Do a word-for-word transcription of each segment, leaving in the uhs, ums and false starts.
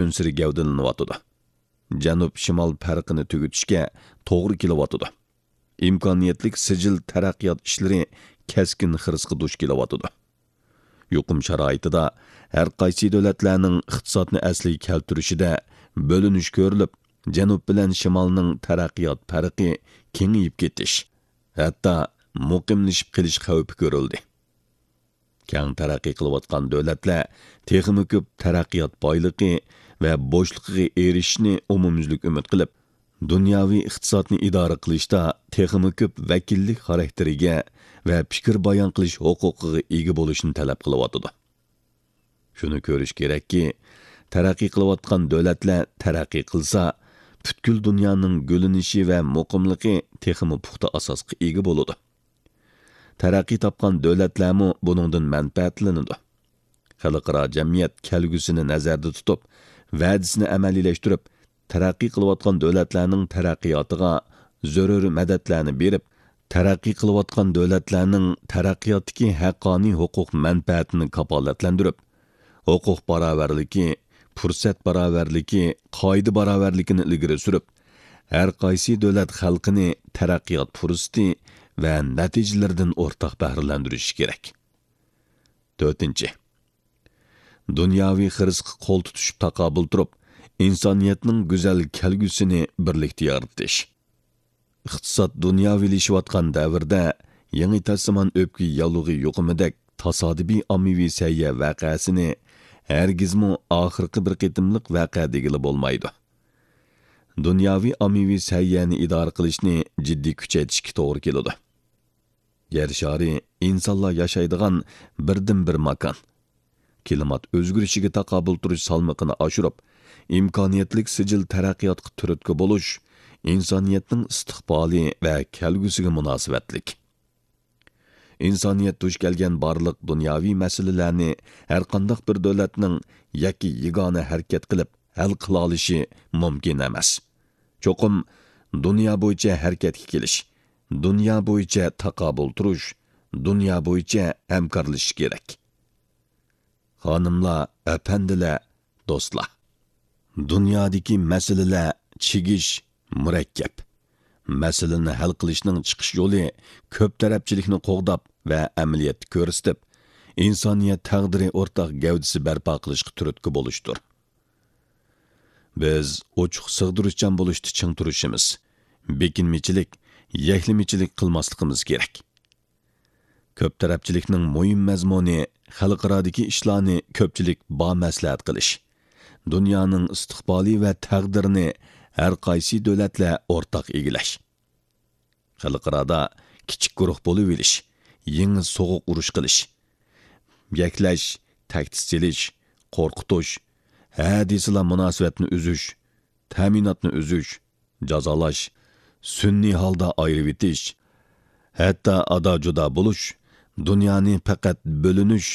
ئۈنسىرى گەۋدىلىنىۋاتىدۇ. جەنۇب-شىمال پەرقىنى تۈگىتىشكە توغرا كېلىۋاتىدۇ. ئىمكانىيەتلىك سىجىل تەرەققىيات ئىشلىرى كەسكىن خىرىسقا دۇچ كېلىۋاتىدۇ. يۇقۇم شارائىتىدا ھەر قايسى دۆلەتلەرنىڭ ئىقتىسادنى ئەسلىگە كەلتۈرۈشىدە بۆلۈنۈش كۆرۈلۈپ، جەنۇب بىلەن شىمالنىڭ تەرەققىيات پەرقى كېڭىيىپ كېتىش، ھەتتا مۇقىملىشىپ قېلىش خەۋپى كۆرۈلدى. كەڭ تەرەققىي قىلىۋاتقان دۆلەتلەر تېخىمۇ كۆپ تەرەققىيات بايلىقى ۋە بوشلۇقىغا ئېرىشىشنى ئومۇميۈزلۈك ئۈمىد قىلىپ، دۇنياۋى ئىقتىسادنى ئىدارە قىلىشتا تېخىمۇ كۆپ ۋەكىللىك خاراكتېرىگە ۋە پىكىر بايان قىلىش ھوقۇقىغا ئىگە بولۇشنى تەلەپ قىلىۋاتىدۇ. شۇنى كۆرۈش كېرەككى، تەرەققىي قىلىۋاتقان دۆلەتلەر تەرەققىي قىلسا، پۈتكۈل دۇنيانىڭ گۈللىنىشى ۋە مۇقىملىقى تېخىمۇ پۇختا ئاساسقا ئىگە بولىدۇ. تەرەققىي تاپقان دۆلەتلەرمۇ بۇنىڭدىن مەنپەئەتلىنىدۇ. خەلقئارا جەمئىيەت كەلگۈسىنى نەزەردە تۇتۇپ، ۋەدىسىنى ئەمەلىيلەشتۈرۈپ، تەرەققىي قىلىۋاتقان دۆلەتلەرنىڭ تەرەققىياتىغا زۆرۈر مەدەتلەرنى بېرىپ، تەرەققىي قىلىۋاتقان دۆلەتلەرنىڭ تەرەققىياتتىكى ھەققانىي ھوقۇق مەنپەئەتىنى كاپالەتلەندۈرۈپ، ھوقۇق باراۋەرلىكى، پۇرسەت باراۋەرلىكى، قائىدە باراۋەرلىكىنى ئىلگىرى سۈرۈپ، ھەر قايسى دۆلەت خەلقىنى تەرەققىيات پۇرسىتى ۋە نەتىجىلىرىدىن ئورتاق بەھرىلەندۈرۈشى كېرەك. تۆتىنچى، دۇنياۋى خىرىسقا قول تۇتۇشۇپ تاقابىل تۇرۇپ، ئىنسانىيەتنىڭ گۈزەل كەلگۈسىنى بىرلىكتە يارىتىش. ئىقتىساد دۇنياۋىلىشىۋاتقان دەۋردە يېڭى تاسىمان ئۆپكە ياللۇغى يۇقۇمىدەك تاسادىپىي ئاممىۋى سەھىيە ۋەقەسىنى ھەرگىزمۇ ئاخىرقى بىر قېتىملىق ۋەقە دېگىلى بولمايدۇ. دۇنياۋى ئاممىۋى سەھىيەنى ئىدارە قىلىشنى جىددىي كۈچەيتىشكە توغرا كېلىدۇ. يەر شارى ئىنسانلار ياشايدىغان بىردىنبىر ماكان. كىلىمات ئۆزگىرىشىگە تاقابىل تۇرۇش سالمىقىنى ئاشۇرۇپ، ئىمكانىيەتلىك سىجىل تەرەققىياتقا تۈرتكە بولۇش ئىنسانىيەتنىڭ ئىستىقبالى ۋە كەلگۈسىگە مۇناسىۋەتلىك. ئىنسانىيەت دۇچ كەلگەن بارلىق دۇنياۋى مەسىلىلەرنى ھەرقانداق بىر دۆلەتنىڭ يەككە يېگانە ھەرىكەت قىلىپ ھەل قىلالىشى مۇمكىن ئەمەس. چوقۇم دۇنيا بويىچە ھەرىكەتكە كېلىش، دۇنيا بويىچە تاقابىل تۇرۇش، دۇنيا بويىچە ھەمكارلىشىش كېرەك. خانىملار، ئەپەندىلەر، دوستلار! دۇنيادىكى مەسىلىلەر چىگىش، مۇرەككەپ. مەسىلىنى ھەل قىلىشنىڭ چىقىش يولى كۆپ تەرەپچىلىكنى قوغداپ ۋە ئەمەلىيەتتە كۆرسىتىپ، ئىنسانىيەت تەقدىرى ئورتاق گەۋدىسى بەرپا قىلىشقا تۈرتكە بولۇشتۇر. بىز ئوچۇق سىغدۇرۇشچان بولۇشتا چىڭ تۇرۇشىمىز، بېكىنمىچىلىك، يەكلىمىچىلىك قىلماسلىقىمىز كېرەك. كۆپ تەرەپچىلىكنىڭ مۇھىم مەزمۇنى خەلقئارادىكى ئىشلارنى كۆپچىلىك بامەسلىھەت قىلىش، دۇنيانىڭ ئىستىقبالى ۋە تەقدىرىنى ھەر قايسى دۆلەتلەر ئورتاق ئىگىلەش. خەلقئارادا كىچىك گۇرۇھ بولۇۋېلىش، يېڭى سوغۇق ئۇرۇش قىلىش، يەكلەش، تەھدىت سېلىش، قورقۇتۇش، ھە دېسىلا مۇناسىۋەتنى ئۈزۈش، تەمىناتنى ئۈزۈش، جازالاش، سۈنئىي ھالدا ئايرىۋېتىش، ھەتتا ئادا-جۇدا بولۇش، دۇنيانى پەقەت بۆلۈنۈش،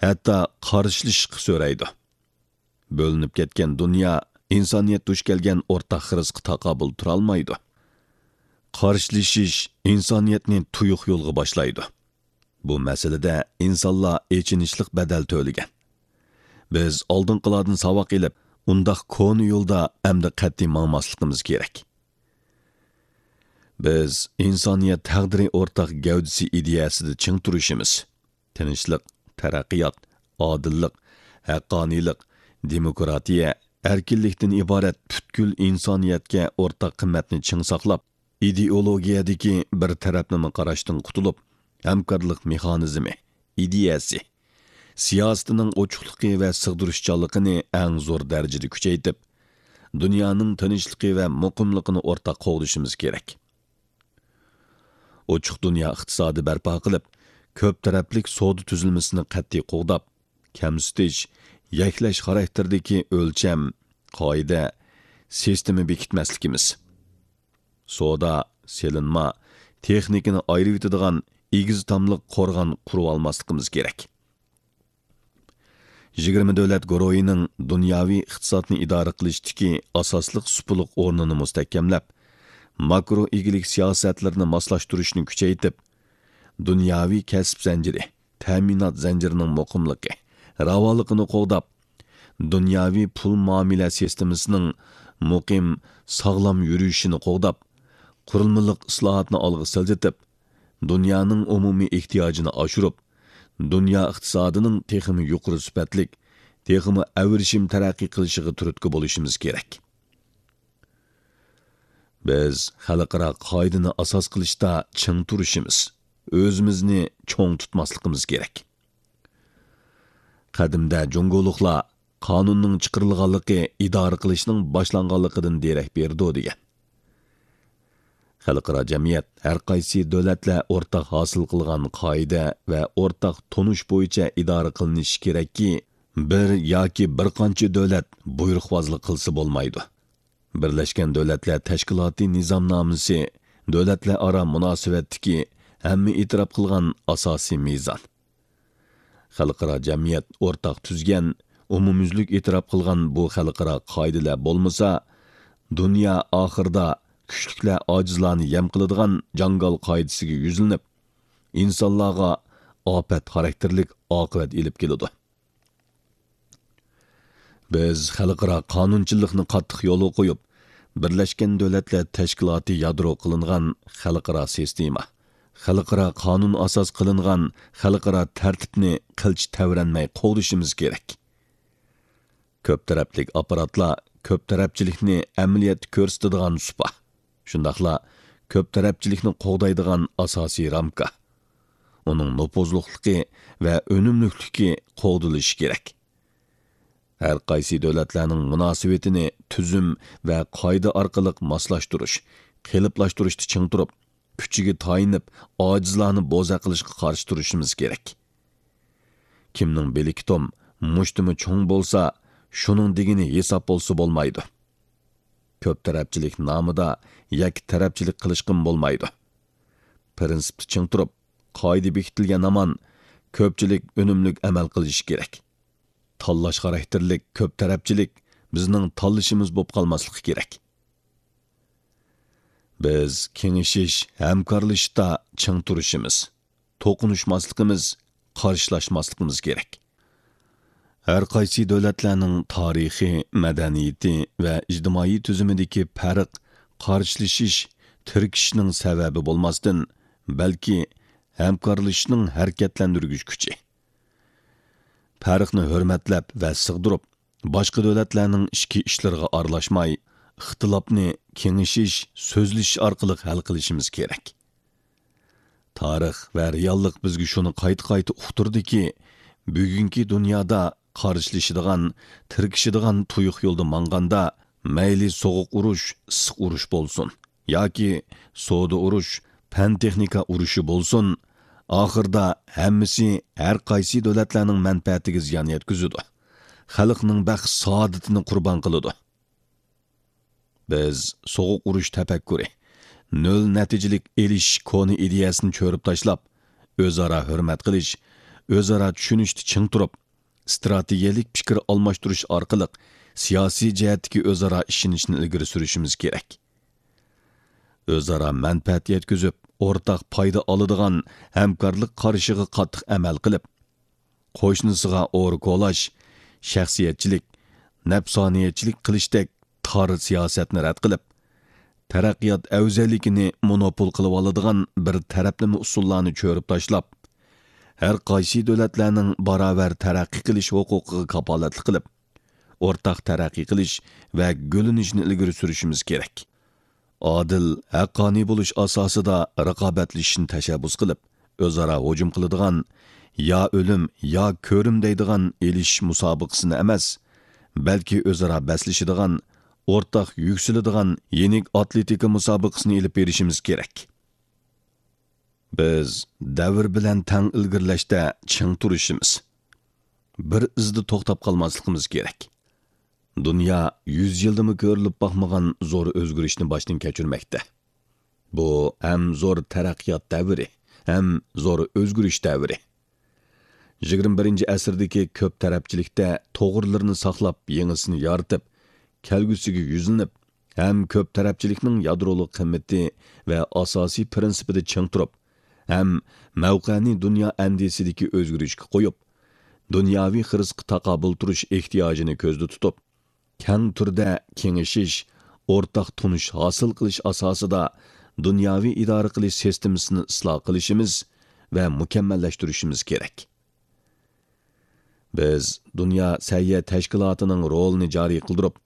ھەتتا قارشىلىشىشقا سۆرەيدۇ. بۆلۈنۈپ كەتكەن دۇنيا ئىنسانىيەت دۇچ كەلگەن ئورتاق خىرىسقا تاقابىل تۇرالمايدۇ. قارشىلىشىش ئىنسانىيەتنى تۇيۇق يولغا باشلايدۇ. بۇ مەسىلىدە ئىنسانلار ئېچىنىشلىق بەدەل تۆلىگەن. بىز ئالدىنقىلاردىن ساۋاق ئېلىپ، ئۇنداق كونا يولدا ئەمدى قەتئىي ماڭماسلىقىمىز كېرەك. بىز ئىنسانىيەت تەقدىرى ئورتاق گەۋدىسى ئىدىيەسىدە چىڭ تۇرۇشىمىز. تىنچلىق، تەرەققىيات، ئادىللىق، ھەققانىيلىق، دېموكراتىيە، ئەركىنلىكتىن ئىبارەت پۈتكۈل ئىنسانىيەتكە ئورتاق قىممەتنى چىڭ ساقلاپ، ئىدېئولوگىيەدىكى بىر تەرەپلىمە قاراشتىن قۇتۇلۇپ، ھەمكارلىق مېخانىزمى، ئىدىيەسى، سىياسىتىنىڭ ئوچۇقلۇقى ۋە سىغدۇرۇشچانلىقىنى ئەڭ زور دەرىجىدە كۈچەيتىپ، دۇنيانىڭ تىنچلىقى ۋە مۇقىملىقىنى ئورتاق قوغدىشىمىز كېرەك. ئوچۇق دۇنيا ئىقتىسادى بەرپا قىلىپ، كۆپ تەرەپلىك سودا تۈزۈلمىسىنى قەتئىي قوغداپ، كەمسىتىش، يەكلەش خاراكتېرىدىكى ئۆلچەم، قائىدە، سىستېما بېكىتمەسلىكىمىز، سودا، سېلىنما، تېخنىكىنى ئايرىۋېتىدىغان ئېگىز تاملىق قورغان قۇرۇۋالماسلىقىمىز كېرەك. يىگىرمە دۆلەت گۇرۇھىنىڭ دۇنياۋى ئىقتىسادنى ئىدارە قىلىشتىكى ئاساسلىق سۇپىلىق ئورنىنى مۇستەھكەملەپ، ماكرو ئىگىلىك سىياسەتلىرىنى ماسلاشتۇرۇشنى كۈچەيتىپ، دۇنياۋى كەسىپ زەنجىرى، تەمىنات زەنجىرىنىڭ مۇقىملىقى، راۋانلىقىنى قوغداپ، دۇنياۋى پۇل مۇئامىلە سىستېمىسىنىڭ مۇقىم، ساغلام يۈرۈشىنى قوغداپ، قۇرۇلمىلىق ئىسلاھاتنى ئالغا سىلجىتىپ، دۇنيانىڭ ئومۇمىي ئېھتىياجىنى ئاشۇرۇپ، دۇنيا ئىقتىسادىنىڭ تېخىمۇ يۇقىرى سۈپەتلىك، تېخىمۇ ئەۋرىشىم تەرەققىي قىلىشىغا تۈرتكە بولۇشىمىز كېرەك. بىز خەلقئارا قائىدىنى ئاساس قىلىشتا چىڭ تۇرۇشىمىز، ئۆزىمىزنى چوڭ تۇتماسلىقىمىز كېرەك. قەدىمدە جۇڭگولۇقلار قانۇننىڭ چىقىرىلغانلىقى ئىدارە قىلىشنىڭ باشلانغانلىقىدىن دېرەك بېرىدۇ، دېگەن. خەلقئارا جەمئىيەت ھەر قايسى دۆلەتلەر ئورتاق ھاسىل قىلغان قائىدە ۋە ئورتاق تونۇش بويىچە ئىدارە قىلىنىشى كېرەككى، بىر ياكى بىر قانچە دۆلەت بۇيرۇقۋازلىق قىلسا بولمايدۇ. بىرلەشكەن دۆلەتلەر تەشكىلاتى نىزامنامىسى دۆلەتلەر ئارا مۇناسىۋەتتىكى ھەممە ئېتىراپ قىلغان ئاساسىي مىزان. خەلقئارا جەمئىيەت ئورتاق تۈزگەن، ئومۇميۈزلۈك ئېتىراپ قىلغان بۇ خەلقئارا قائىدىلەر بولمىسا، دۇنيا ئاخىرىدا كۈچلۈكلەر ئاجىزلارنى يەم قىلىدىغان جاڭگال قائىدىسىگە يۈزلىنىپ، ئىنسانلارغا ئاپەت خاراكتېرلىك ئاقىۋەت ئېلىپ كېلىدۇ. بىز خەلقئارا قانۇنچىلىقنى قاتتىق يولغا قويۇپ، بىرلەشكەن دۆلەتلەر تەشكىلاتى يادرو قىلىنغان خەلقئارا سىستېما، خەلقئارا قانۇن ئاساس قىلىنغان خەلقئارا تەرتىپنى قىلچە تەۋرەنمەي قوغدىشىمىز كېرەك. كۆپ تەرەپلىك ئاپپاراتلار كۆپ تەرەپچىلىكنى ئەمەلىيەتتە كۆرسىتىدىغان سۇپا، شۇنداقلا كۆپ تەرەپچىلىكنى قوغدايدىغان ئاساسىي رامكا، ئۇنىڭ نوپۇزلۇقلۇقى ۋە ئۈنۈملۈكلۈكى قوغدىلىشى كېرەك. ھەر قايسى دۆلەتلەرنىڭ مۇناسىۋىتىنى تۈزۈم ۋە قائىدە ئارقىلىق ماسلاشتۇرۇش، قېلىپلاشتۇرۇشتا چىڭ تۇرۇپ، كۈچىگە تايىنىپ، ئاجىزلارنى بوزەك قىلىشقا قارشى تۇرۇشىمىز كېرەك. كىمنىڭ بىلىكى توم، مۇشتۇمى چوڭ بولسا، شۇنىڭ دېگىنى ھېساب بولسا بولمايدۇ. كۆپ تەرەپچىلىك نامىدا يەككە تەرەپچىلىك قىلىشقىمۇ بولمايدۇ. پىرىنسىپتا چىڭ تۇرۇپ، قائىدە بېكىتىلگەن ھامان كۆپچىلىك ئۈنۈملۈك ئەمەل قىلىشى كېرەك. تاللاش خاراكتېرلىك كۆپ تەرەپچىلىك بىزنىڭ تاللىشىمىز بولۇپ قالماسلىقى كېرەك. بىز كېڭىشىش، ھەمكارلىشىشتا چىڭ تۇرۇشىمىز، توقۇنۇشماسلىقىمىز، قارشىلاشماسلىقىمىز كېرەك. ھەر قايسى دۆلەتلەرنىڭ تارىخى، مەدەنىيىتى ۋە ئىجتىمائىي تۈزۈمىدىكى پەرق قارشىلىشىش، تىركىشىشنىڭ سەۋەبى بولماستىن، بەلكى ھەمكارلىشىشنىڭ ھەرىكەتلەندۈرگۈچ كۈچى. پەرقنى ھۆرمەتلەپ ۋە سىغدۇرۇپ، باشقا دۆلەتلەرنىڭ ئىچكى ئىشلىرىغا ئارىلاشماي، ئىختىلاپنى كېڭىشىش، سۆزلىشىش ئارقىلىق ھەل قىلىشىمىز كېرەك. تارىخ ۋە رېئاللىق بىزگە شۇنى قايتا-قايتا ئۇقتۇردىكى، بۈگۈنكى دۇنيادا قارشىلىشىدىغان، تىركىشىدىغان تۇيۇق يولدا ماڭغاندا، مەيلى سوغۇق ئۇرۇش، ئىسسىق ئۇرۇش بولسۇن ياكى سودا ئۇرۇش، پەن-تېخنىكا ئۇرۇشى بولسۇن، ئاخىرىدا ھەممىسى ھەر قايسى دۆلەتلەرنىڭ مەنپەئەتىگە زىيان يەتكۈزىدۇ. خەلقنىڭ بەخت-سائادىتىنى قۇربان قىلىدۇ. بىز سوغۇق ئۇرۇش تەپەككۇرى، نۆل نەتىجىلىك ئېلىشىش كونا ئىدىيەسىنى چۆرۈپ تاشلاپ، ئۆزئارا ھۆرمەت قىلىش، ئۆزئارا چۈشىنىشتە چىڭ تۇرۇپ، ئىستراتېگىيەلىك پىكىر ئالماشتۇرۇش ئارقىلىق سىياسىي جەھەتتىكى ئۆزئارا ئىشىنىشنى ئىلگىرى سۈرۈشىمىز كېرەك. ئۆزئارا مەنپەئەت يەتكۈزۈپ، ئورتاق پايدا ئالىدىغان ھەمكارلىق قارىشىغا قاتتىق ئەمەل قىلىپ، قوشنىسىغا ئورا كولاش، شەخسىيەتچىلىك، نەپسانىيەتچىلىك قىلىشتەك تار سىياسەتنى رەت قىلىپ، تەرەققىيات ئەۋزەللىكىنى مونوپول قىلىۋالىدىغان بىر تەرەپلىمە ئۇسۇللارنى چۆرۈپ تاشلاپ، ھەر قايسى دۆلەتلەرنىڭ باراۋەر تەرەققىي قىلىش ھوقۇقىغا كاپالەتلىك قىلىپ، ئورتاق تەرەققىي قىلىش ۋە گۈللىنىشنى ئىلگىرى سۈرۈشىمىز كېرەك. ئادىل، ھەققانىي بولۇش ئاساسىدا رىقابەتلىشىشنى تەشەببۇس قىلىپ، ئۆزئارا ھۇجۇم قىلىدىغان، يا ئۆلۈم، يا كۆرۈم دەيدىغان ئېلىشىش مۇسابىقىسىنى ئەمەس، بەلكى ئۆزئارا بەسلىشىدىغان، ئورتاق يۈكسىلىدىغان يېنىك ئاتلېتىكا مۇسابىقىسىنى ئېلىپ بېرىشىمىز كېرەك. بىز دەۋر بىلەن تەڭ ئىلگىرىلەشتە چىڭ تۇرۇشىمىز، بىر ئىزدا توختاپ قالماسلىقىمىز كېرەك. دۇنيا يۈز يىلدىمۇ كۆرۈلۈپ باقمىغان زور ئۆزگىرىشنى باشتىن كەچۈرمەكتە. بۇ ھەم زور تەرەققىيات دەۋرى، ھەم زور ئۆزگىرىش دەۋرى. يىگىرمە بىرىنچى ئەسىردىكى كۆپ تەرەپچىلىكتە توغرىلىرىنى ساقلاپ، يېڭىسىنى يارىتىپ، كەلگۈسىگە يۈزلىنىپ، ھەم كۆپ تەرەپچىلىكنىڭ يادرولۇق قىممىتى ۋە ئاساسىي پىرىنسىپىدا چىڭ تۇرۇپ، ھەم مەۋقەنى دۇنيا ئەندىزىسىدىكى ئۆزگىرىشكە قويۇپ، دۇنياۋى خىرىسقا تاقابىل تۇرۇش ئېھتىياجىنى كۆزدە تۇتۇپ، كەڭ تۈردە كېڭىشىش، ئورتاق تونۇش ھاسىل قىلىش ئاساسىدا دۇنياۋى ئىدارە قىلىش سىستېمىسىنى ئىسلاھ قىلىشىمىز ۋە مۇكەممەللەشتۈرۈشىمىز كېرەك. بىز دۇنيا سەھىيە تەشكىلاتىنىڭ رولىنى جارى قىلدۇرۇپ،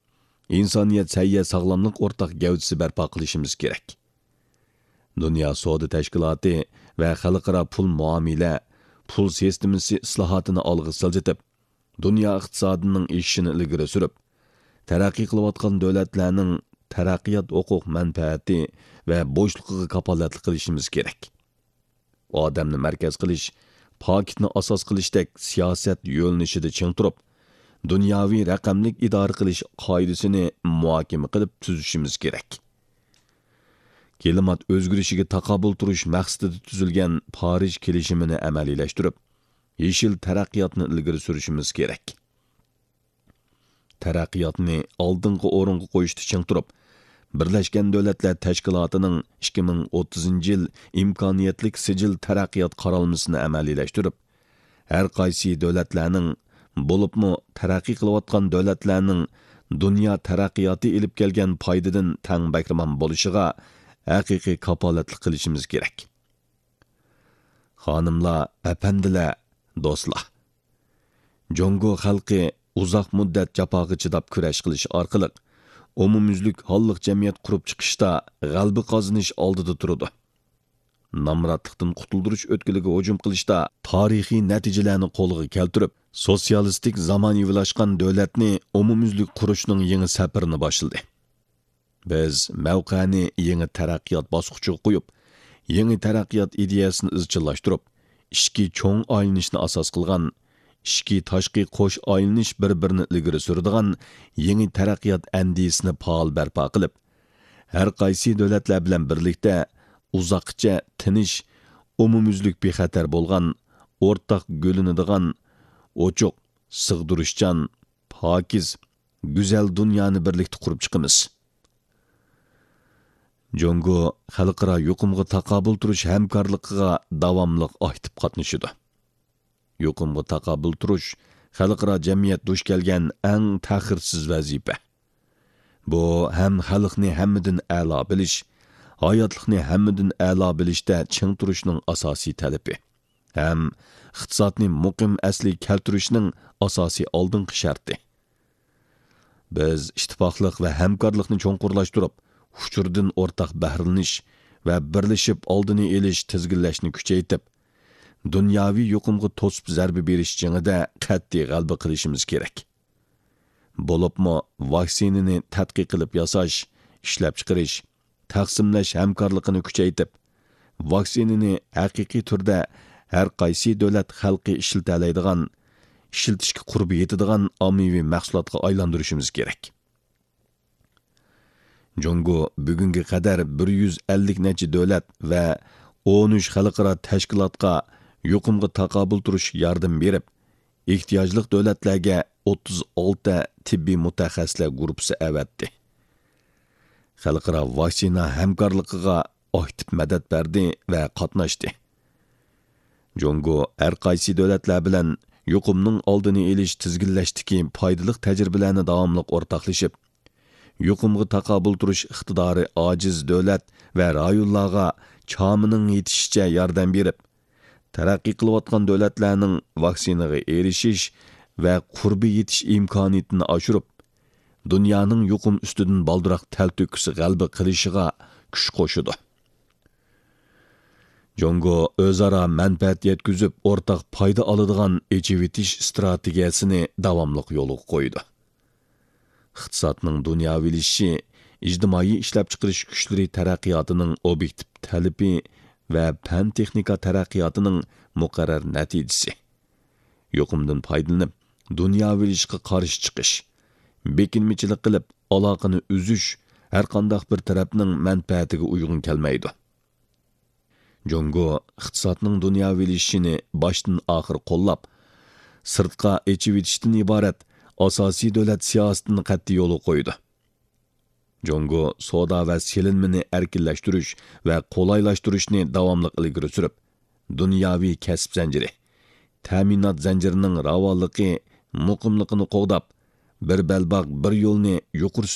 ئىنسانىيەت سەھىيە ساغلاملىق ئورتاق گەۋدىسى بەرپا قىلىشىمىز كېرەك. دۇنيا سودا تەشكىلاتى ۋە خەلقئارا پۇل مۇئامىلە، پۇل سىستېمىسى ئىسلاھاتىنى ئالغا سىلجىتىپ، دۇنيا ئىقتىسادىنىڭ ئېشىشىنى ئىلگىرى سۈرۈپ، تەرەققىي قىلىۋاتقان دۆلەتلەرنىڭ تەرەققىيات ھوقۇق مەنپەئەتى ۋە بوشلۇقىغا كاپالەتلىك قىلىشىمىز كېرەك. ئادەمنى مەركەز قىلىش، پاكىتنى ئاساس قىلىشتەك سىياسەت يۆنىلىشىدە چىڭ تۇرۇپ، دۇنياۋى رەقەملىك ئىدارە قىلىش قائىدىسىنى مۇھاكىمە قىلىپ تۈزۈشىمىز كېرەك. كىلىمات ئۆزگىرىشىگە تاقابىل تۇرۇش مەقسىتىدە تۈزۈلگەن پارىژ كېلىشىمىنى ئەمەلىيلەشتۈرۈپ، يېشىل تەرەققىياتنى ئىلگىرى سۈرۈشىمىز كېرەك. تەرەققىياتنى ئالدىنقى ئورۇنغا قويۇشتا چىڭ تۇرۇپ، بىرلەشكەن دۆلەتلەر تەشكىلاتىنىڭ ئىككى مىڭ ئوتتۇزىنچى يىل ئىمكانىيەتلىك سىجىل تەرەققىيات قارالمىسىنى ئەمەلىيلەشتۈرۈپ، ھەر قايسى دۆلەتلەرنىڭ، بولۇپمۇ تەرەققىي قىلىۋاتقان دۆلەتلەرنىڭ دۇنيا تەرەققىياتى ئېلىپ كەلگەن پايدىدىن تەڭ بەھرىمەن بولۇشىغا ھەقىقىي كاپالەتلىك قىلىشىمىز كېرەك. خانىملار، ئەپەندىلەر، دوستلار! جۇڭگو خەلقى ئۇزاق مۇددەت جاپاغا چىداپ كۈرەش قىلىش ئارقىلىق ئومۇميۈزلۈك ھاللىق جەمئىيەت قۇرۇپ چىقىشتا غەلىبە قازىنىش ئالدىدا تۇرىدۇ. نامراتلىقتىن قۇتۇلدۇرۇش ئۆتكىلىگە ھۇجۇم قىلىشتا تارىخىي نەتىجىلەرنى قولغا كەلتۈرۈپ، سوتسىيالىستىك زامانىۋىلاشقان دۆلەتنى ئومۇميۈزلۈك قۇرۇشنىڭ يېڭى سەپىرىنى باشلىدى. بىز مەۋقەنى يېڭى تەرەققىيات باسقۇچىغا قويۇپ، يېڭى تەرەققىيات ئىدىيەسىنى ئىزچىللاشتۇرۇپ، ئىچكى چوڭ ئايلىنىشنى ئاساس قىلغان، ئىچكى تاشقى قوش ئايلىنىش بىر-بىرىنى ئىلگىرى سۈرىدىغان يېڭى تەرەققىيات ئەندىزىسىنى پائال بەرپا قىلىپ، ھەر قايسى دۆلەتلەر بىلەن بىرلىكتە ئۇزاققىچە تىنچ، ئومۇميۈزلۈك بىخەتەر بولغان، ئورتاق گۈللىنىدىغان، ئوچۇق، سىغدۇرۇشچان، پاكىز، گۈزەل دۇنيانى بىرلىكتە قۇرۇپ چىقىمىز. جۇڭگو خەلقئارا يۇقۇمغا تاقابىل تۇرۇش ھەمكارلىقىغا داۋاملىق ئاكتىپ قاتنىشىدۇ. يۇقۇمغا تاقابىل تۇرۇش خەلقئارا جەمئىيەت دۇچ كەلگەن ئەڭ تەخىرسىز ۋەزىپە. بۇ ھەم خەلقنى ھەممىدىن ئەلا بىلىش، ھاياتلىقنى ھەممىدىن ئەلا بىلىشتە چىڭ تۇرۇشنىڭ ئاساسىي تەلىپى، ھەم ئىقتىسادنى مۇقىم ئەسلىگە كەلتۈرۈشنىڭ ئاساسىي ئالدىنقى شەرتى. بىز ئىتتىپاقلىق ۋە ھەمكارلىقنى چوڭقۇرلاشتۇرۇپ، ئۇچۇردىن ئورتاق بەھرىلىنىش ۋە بىرلىشىپ ئالدىنى ئېلىش، تىزگىنلەشنى كۈچەيتىپ، دۇنياۋى يۇقۇمغا توسۇپ زەربە بېرىش جېڭىدە قەتئىي غەلىبە قىلىشىمىز كېرەك. بولۇپمۇ ۋاكسىنىنى تەتقىق قىلىپ ياساش، ئىشلەپچىقىرىش، تەقسىملەش ھەمكارلىقىنى كۈچەيتىپ، ۋاكسىنىنى ھەقىقىي تۈردە ھەر قايسى دۆلەت خەلقى ئىشلىتەلەيدىغان، ئىشلىتىشكە قۇربى يېتىدىغان ئاممىۋى مەھسۇلاتقا ئايلاندۇرۇشىمىز كېرەك. جۇڭگو بۈگۈنگە قەدەر بىر يۈز ئەللىك نەچچە دۆلەت ۋە ئون ئۈچ خەلقئارا تەشكىلاتقا يۇقۇمغا تاقابىل تۇرۇش ياردىمى بېرىپ، ئېھتىياجلىق دۆلەتلەرگە ئوتتۇز ئالتە تېببىي مۇتەخەسسىسلەر گۇرۇپپىسى ئەۋەتتى. خەلقئارا ۋاكسىنا ھەمكارلىقىغا ئاكتىپ مەدەت بەردى ۋە قاتناشتى. جۇڭگو ھەر قايسى دۆلەتلەر بىلەن يۇقۇمنىڭ ئالدىنى ئېلىش، تىزگىنلەشتىكى پايدىلىق تەجرىبىلەرنى داۋاملىق ئورتاقلىشىپ، يۇقۇمغا تاقابىل تۇرۇش ئىقتىدارى ئاجىز دۆلەت ۋە رايونلارغا چامىنىڭ يېتىشىچە ياردەم بېرىپ، تەرەققىي قىلىۋاتقان دۆلەتلەرنىڭ ۋاكسىنىغا ئېرىشىش ۋە قۇربى يېتىش ئىمكانىيىتىنى ئاشۇرۇپ، دۇنيانىڭ يۇقۇم ئۈستىدىن بالدۇراق تەلتۆكۈس غەلىبە قىلىشىغا كۈچ قوشىدۇ. جۇڭگو ئۆزئارا مەنپەئەت يەتكۈزۈپ، ئورتاق پايدا ئالىدىغان ئېچىۋېتىش ئىستراتېگىيەسىنى داۋاملىق يولغا قويىدۇ. ئىقتىسادنىڭ دۇنياۋىلىشىشى ئىجتىمائىي ئىشلەپچىقىرىش كۈچلىرى تەرەققىياتىنىڭ ئوبيېكتىپ تەلىپى ۋە پەن-تېخنىكا تەرەققىياتىنىڭ مۇقەررەر نەتىجىسى. يۇقۇمدىن پايدىلىنىپ، دۇنياۋىلىشىشقا قارشى چىقىش، بېكىنمىچىلىك قىلىپ، ئالاقىنى ئۈزۈش ھەرقانداق بىر تەرەپنىڭ مەنپەئەتىگە ئۇيغۇن كەلمەيدۇ. جۇڭگو ئىقتىسادنىڭ دۇنياۋىلىشىشىنى باشتىن ئاخىر قوللاپ، سىرتقا ئېچىۋېتىشتىن ئىبارەت ئاساسىي دۆلەت سىياسىتىنى قەتئىي يولغا قويىدۇ. جۇڭگو سودا ۋە سېلىنمىنى ئەركىنلەشتۈرۈش ۋە قولايلاشتۇرۇشنى داۋاملىق ئىلگىرى سۈرۈپ، دۇنياۋى كەسىپ زەنجىرى، تەمىنات زەنجىرىنىڭ راۋانلىقى، مۇقىملىقىنى قوغداپ، بىر بەلباغ، بىر يولنى يۇقىرى